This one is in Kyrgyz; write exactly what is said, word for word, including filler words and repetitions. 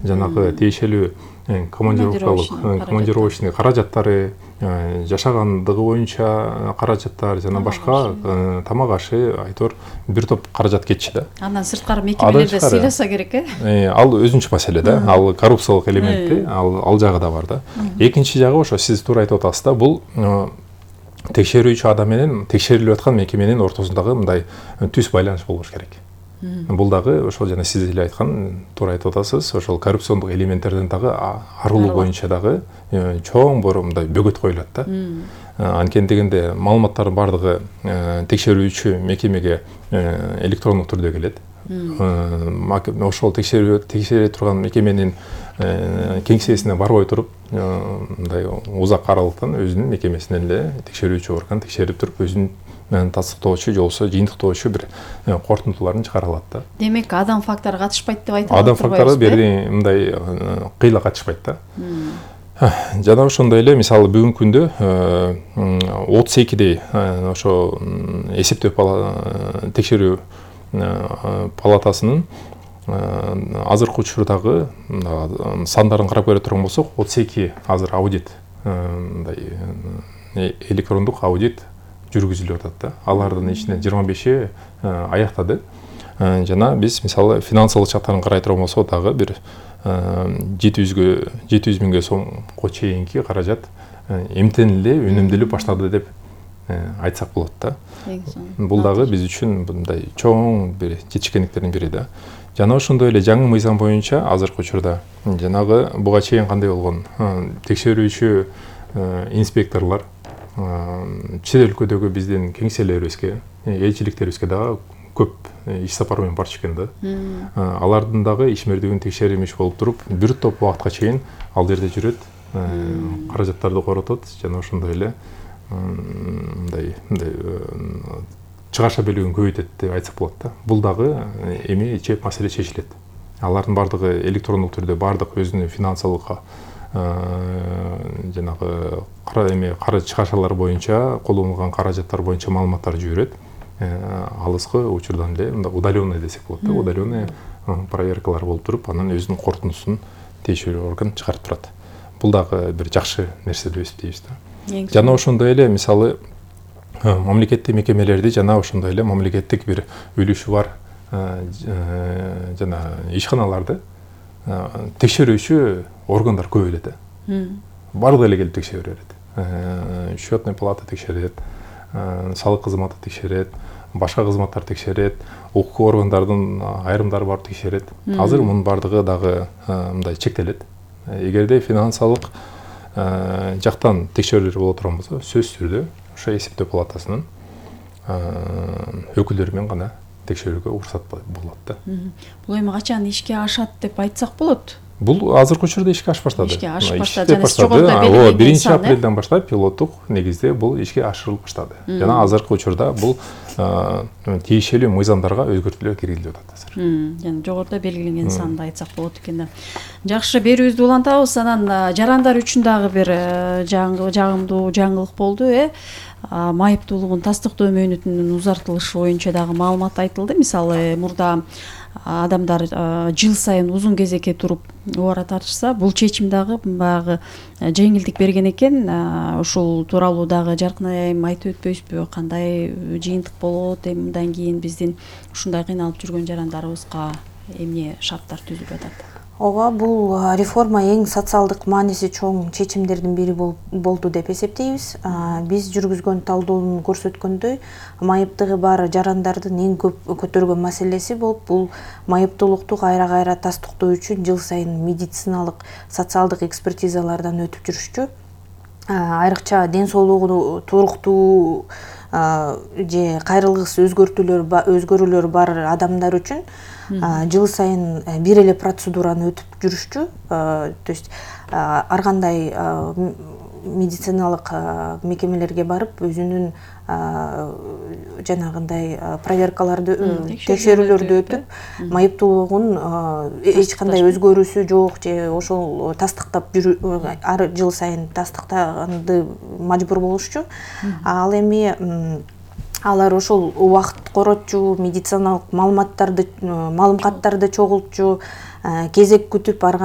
жанагы тиешелүү командировкалык командировочный каражаттары, жашагандыгы боюнча каражаттар жана башка тамак ашы айтор бир топ каражат кетчү да. Андан сырткары мекемелерде сыйласа керек э? Ал өзүнчө маселе да. Ал коррупциялык элементи, ал ал жагы да бар да. Экинчи жагы ошо сиз туура айтып атасыз да, бул текшерүүчү адам менен текшерилип аткан мекеменин ортосундагы мындай түз байланыш болуш керек. Бул дагы ошол жана сиз эле айткан туура айтып атасыз, ошол коррупциондук элементтерден дагы арылуу боюнча дагы чоң бор мындай бөгөт коюлат да. Анткени дегенде маалыматтардын бардыгы текшерүүчү мекемеге электрондук түрдө келет. Ошол текшерүү текшере турган мекеменин кеңсесине барбай туруп, мындай узак аралыктан өзүнүн мекемесинен эле текшерүүчү орган текшерип туруп, өзүнүн тастыктоочу же болбосо жыйынтыктоочу бир кортунтуларын чыгара алат да. Демек, адам фактору катышпайт деп айта алат. Адам фактору бери мындай кыйла катышпайт да. Жана ошондой эле мисалы бүгүнкү күндө отуз экидей ошо эсептөө текшерүү палатасынын азыркы учурдагы сандарын карап көрө турган болсок, отуз эки азыр аудит, мындай электрондук аудит жүргүзүлүп атат да. Алардын ичинен жыйырма беши аяктады. Жана биз мисалы финансылык жактарын карай турган болсок дагы бир жети жүз миңге сомго чейинки каражат эмтен эле үнөмдөлүп баштады деп айтсак болот да. Бул дагы биз үчүн мындай чоң бир жетишкендиктердин бири да. Жана ошондой эле жаңы мыйзам боюнча азыркы учурда жанагы буга чейин кандай болгон текшерүүчү инспекторлор чет өлкөдөгү биздин кеңселерибизге, элчиликтерибизге дагы көп иш сапар менен барчу экен да. Алардын дагы ишмердигин текшеримиш болуп туруп, бир топ убакытка чейин ал жерде жүрөт, каражаттарды коротот жана ошондой эле мындай мындай чыгаша белүүн көбөйтөт деп айтсак болот да. Бул дагы эми чеп маселе чечилет. Алардын бардыгы электрондук түрдө бардык өзүнүн финансылык жанагы эме каражат чыгашалар боюнча, колдонулган каражаттар боюнча маалыматтар жиберет. Алыскы учурдан эле мындай удаленный десек болот да. Удаленный проверкалар болуп туруп, анан өзүнүн корутундусун тиешелүү орган чыгарып турат. Бул дагы бир жакшы нерсе деп эсептейбиз да. Жана ошондой эле мисалы мамлекеттик мекемелерди жана ошондой эле мамлекеттик бир үлүшү бар жана ишканаларды текшерүүчү органдар көп эле да. Бардыгы эле келип текшере берет. Счетный палата текшерет, салык кызматы текшерет, башка кызматтар текшерет, укук органдардын айрымдары барып текшерет. Азыр мунун бардыгы дагы мындай чектелет. Эгерде финансылык жактан текшерүүлөр боло турган болсо, сөзсүз түрдө ошо эсептөө палатасынын өкүлдөрү менен гана текшерүүгө уруксат болот да. Бул эми качан ишке ашат деп айтсак болот? Бул азыркы учурда ишке ашып баштады. Ишке ашып баштады. Жана биринчи апрелден баштап пилоттук негизде бул ишке ашырылып баштады. Жана азыркы учурда бул тиешелүү мыйзамдарга өзгөртүүлөр киргизилип атат азыр. Жана жогоруда белгиленген санда айтсак болот экен да. Жакшы, берүүбүздү улантабыз. Анан жарандар үчүн дагы бир жагымдуу жаңылык болду, э? Майыптуулугун тастыктоо мөөнөтүнүн узартылышы боюнча дагы маалымат айтылды. Мисалы, мурда адамдар жыл сайын узун кезекке туруп убара тартышса, бул чечим дагы баягы жеңилдик берген экен. Ушул тууралуу дагы жаркын айым айтып өтпөйсүзбү? Кандай жыйынтык болот? Эми мындан кийин биздин ушундай кыйналып жүргөн жарандарыбызга эмне шарттар түзүлүп атат? Ооба, бул реформа эң социалдык мааниси чоң чечимдердин бири болду деп эсептейбиз. Биз жүргүзгөн талдоонун көрсөткөндөй, майыптыгы бар жарандардын эң көп көтөргөн маселеси болуп, бул майыптуулукту кайра-кайра тастыктоо үчүн жыл сайын медициналык, социалдык экспертизалардан өтүп жүрүшчү. Айрыкча ден соолугу туруктуу же кайрылгыс өзгөрүүлөр бар адамдар үчүн жыл сайын бир эле процедураны өтүп жүрүшчү. То есть ар кандай медициналык мекемелерге барып өзүнүн жанагындай проверкаларды, текшерүүлөрдү өтүп, майыптуулугун эч кандай өзгөрүүсү жок же ошол тастыктап жүрүү, ар жыл сайын тастыктаганды мажбур болушчу. Ал эми алар ошол убакыт коротчу, медициналык маалыматтарды, маалымкаттарды чогултчу, кезек күтүп барган